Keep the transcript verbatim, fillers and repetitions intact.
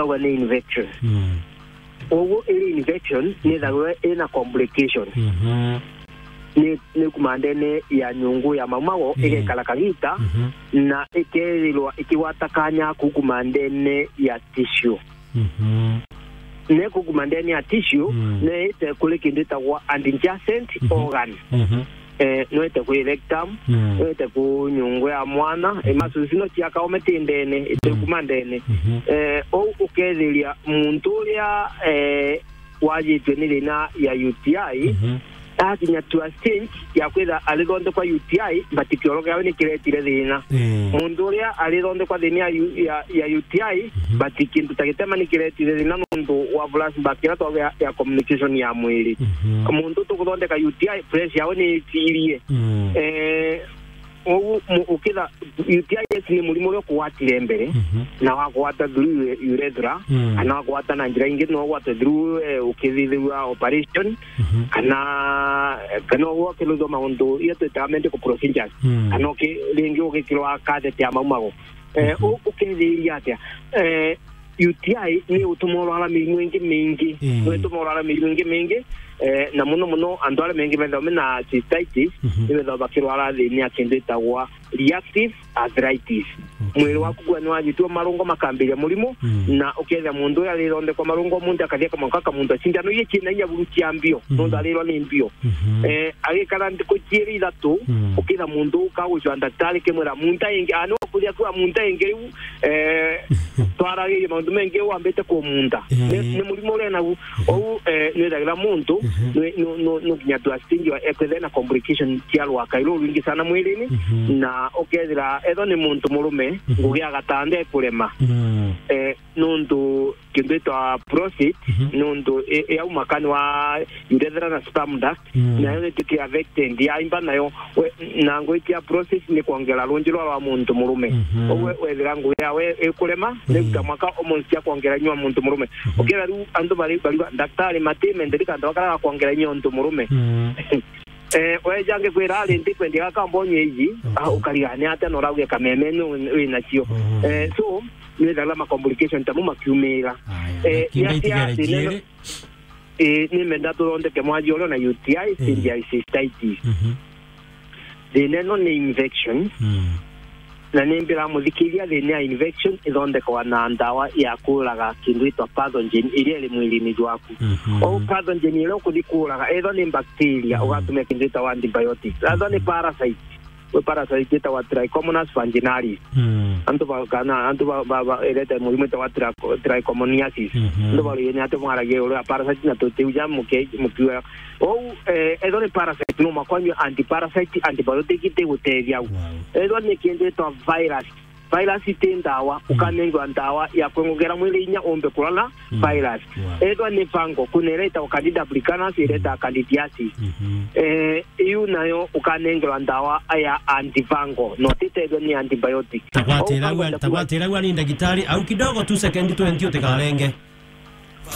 ithagwa ni infection. Mm. Koguo iri infection, ni ithagwa ina complication. Mhm. Ni, ni kuma ndene ya nyungu ya maumago, mm, igekara kagita, mhm, na ikethirwa ikigwata kanya kuu kuma ndene ya tissue. Mhm. Ne kuu kuma ndene ya tissue, mm, ne ite kuri kindu itagwa adjacent, mhm, organ. Mhm. Eh, no ite kwi rectum, mm, no ite ku nyungu ya mwana, mm, imasu ici no cia kaome ti ndene, ite, mm, kuma ndene. Mhm. Eh, ou ukethiria muntu uria, eh, wajitwe ni thina ya U T I, mhm, akinya to a stage ya kwitha arithondekwa U T I, but kioro kiawe ni kiretire thina. Eh. Muntu uria arithondekwa thina ya U-, ya, ya U T I, mhm, but kintu ta gitema ni kiretire thina nontu wa flashback iria twauga ya, ya communication ya mwiri. Mhm. Muntu tukuthondeka U T I, pressure yawe ni itirie. Mm. Eh, Ou mu-, ukitha U T I ni murimo uria ukugwatire mbere, mhm, na wagwata through ure-, urethra, mm, kana wagwata na njira ingi, no ugwate through, eh, ukithithirwa operation, mhm, kana, kana ugwakirithwa maundu iria twitaga medical procedures, mm, kana uki-, ringi ugikirwa catheter ya maumago. Eh, mhm, u-, ukethiria atia? Eh, U T I ni utuma urwara mirimu ingi mingi. Mm. Ni utuma urwara mirimu ingi mingi, eh, na muno muno antu aria maingi methagwa mena cystitis, mhm, ni methagwa bakirwara thina ya kintu itagwa reactive arthritis. Okay. Mwiri waku gwa ni wajitua marungo makambiria murimu, mm, na ukethia muntu uria arithondekwa marungo muntu akathia kamwanka kamuntu acindano iria ciina inya buru cia mbio, mm, nontu arirwa ni mbio. Mhm. Eh, agikara nthikũ ciĩrĩ ithatũ, mm, ũkĩra mũndũ ũka gũcwa ndagĩtarĩ kĩmwĩra, "Munta ĩngĩ, ah, nĩ wakũria kwa munta ĩngĩ rĩu, eh, twaragĩrie maũndũ mengĩ wambĩte kũmunta." Eh. Nĩ, nĩ mũrimũ ũrĩa naguo. Mhm. Ũu, eh, nĩ ĩthagĩra mũndũ, mhm, nĩ, nĩ, nĩ, nĩ nginya tu stage wa, eh, kwĩthĩa na complication cia rwaka rũu rwingĩ sana mwĩrĩnĩ, mhm, na ũkethĩra ethwa nĩ mũndũ mũrũme, mhm, ngũgĩ agatanda ekũrema. Mm. Eh, nontu kintu itwa prostate, mhm, nontu i-, i-, yauma kanwa urethera na sperm duct, mm, nayo nituki affected yaimba nayo. We, na ngwiti ya prostate ni kwongera runji rwa, rwa muntu murume. Mhm. Koguo wethira ngugi yawe ikurema, mm, ni ruta mwaka almost ya kwongera inyua muntu murume. Mhm. Ukira riu antu bari, bari, daktari mati menderika antu bakaraga kwongera inyua muntu murume. Mm. Eh, weja ngikwira ari ntikwendia gaka mbonye iji, okay, ah, ukariga ni atia na urauge kameme ni wi-, winacio. Mhm. Eh, so, ni wethagirwa ma complication tamo makiumira. Aya, eh, na kiumbe ya itigare cia-, thina ino, jiere. Eh, ni menda tuthondeke mwaji uria na U T I, eh, cystitis. Mhm. Thina ino ni infection. Mm. Na ni mbira muthikiria thina ya infection ithondekwa na ndawa ya kuraga kindu itwa pathogen iria iri mwirine jwaku. Mhm. O pathogen iria ukuthi kuraga, ethwa ni bacteria, mm, ugatumia kindu itwa antibiotics. Ethwa ni, mhm, parasite, we parasite itagwa Trichomonas vaginalis. Mm. Antu ba, kana, antu ba, ba, ba, irete murimu itagwa tricho-, trichomoniasis. Mhm. Antu ba rugeni ati mwaragia uru ya parasite na tutiu ja muke-, mukiwa. Ou, eh, ethwa ni parasite, no makwa nyua antiparasite, antibiotic itigutethia au. Wow. Ethwa ni kindu itwa virus, virus iti ndawa, mm, ukanengwa ndawa ya kwengogera mwiri inya umbe kurana, mm, virus. Wow. Ethwa ni fungal, kuna iria itagwa Candida albicans, iria itagwa, mm, candidiasis. Mhm. Eh, iu nayo ukanengerwa ndawa ya antifungal, no titethwe ni antibiotic. Tagwatira au, tagwatira au ni ndagitari, au kidogo tu second twenty utikarenge.